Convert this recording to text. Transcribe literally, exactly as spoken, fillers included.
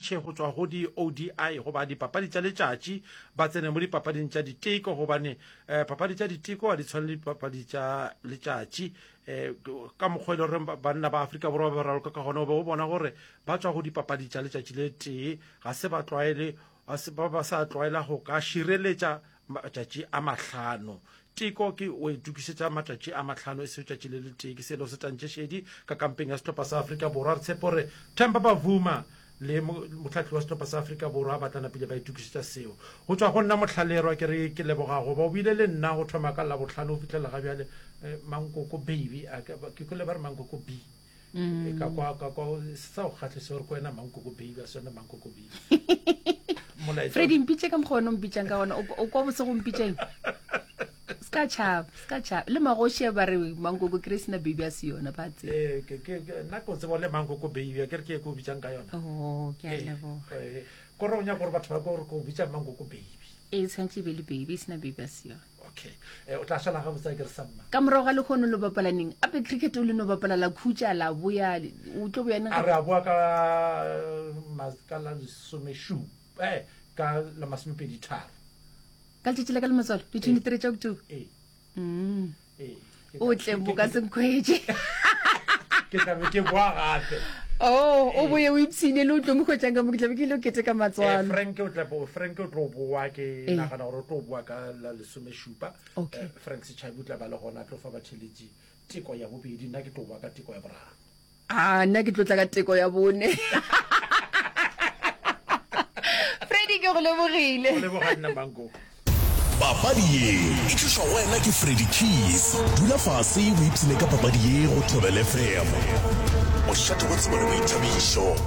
switšhe go tšwa go di-O D I goba dipapadi tša letšatši ba tsene mo dipapading tša diteko, gobane um papadi tša diteko ga di tshwane le dipapadi tša letšatši. Um ka mokgwa e le gore banna ba Afrika Borwa ba raloka ka gona, o be o bona gore ba tšwa go dipapadi tša letšatši le tee, ga se ba tlwaele, ga se ba ba sa tlwaela go ka šireletša matšatši a mahlano. Teko ke o itokišetša matšatši a mahlano e sego tšatši le letee. Ke selo se tantše šedi ka kampeng ya sehlopha sa Afrika Borwa. Re tshepe gore Themba Bavuma le mohlahli wa sehlopha sa Afrika Borwa ba tla napile ba itokišetša seo. Go tšwa go nna Mohlallerwa ke re ke leboga go ba o bile le nna go thoma ka Labohlano go fihlela ga bjale. Mankoko baby, ke kwele ba re Mankoko B. Mm. Ka kwa ka kwa sa go kgahlisa gore ko wena Mankoko baby a se yona Mankoko B. Molaetša. Freddy, mpitše ka mokgwa wena o mpitšang ka gona. O kwa bose go mpitšeng? Se ka tšhaba, se ka tšhaba. Le magoši a ba re Mankoko kry sena baby a se yona, ba tseba. Eh, ke ke nna ke o tseba le Mankoko baby, a ke re ke e ke o bitsang ka yona. Oh, ke a leboga. Eh, ko re o nyaka gore batho ba ko gore ke o bitsa Mankoko baby. E tshwanetse e be le baby, e sena baby a se yona. Okay. Eh, o tla šala gabotse a ke re samma. Ka morago ga lekgono lo bapala neng? Ape cricket o le no bapala la khutša la boya, o tlo boya neng? A re a boa ka ka la lesomešupa, eh, ka la masomepedi tharo. Ka letšatši la ka le matswalo, di twenty-three tša October. Ee. Mm. Ee. O tle mo ka se nkhwetše. Ke tla be ke boa gape. Oh, o boye o ipshine le o tlo mo hwetšang ka mo, ke tla be ke ile o keteka matswalo. Eh, Frank o tla bo, Frank o tlo boa, ke Ee. nagana gore o tlo boa ka la lesomešupa. Okay. Eh, Frank Setšhabi o tla ba le gona a tlo fa batheeletši teko ya bobedi, nna ke tlo boa ka teko ya boraro. Ah, nna ke tlo tla ka teko ya bone. Freddy, ke go lebogile. Go leboga nna, Mankoko. Papadi ye e tlišwa go wena ke Freddy Keys. Dula fase o ipshine ka papadi ye go Thobela F M. Mošate wa tsebo le boithabišo.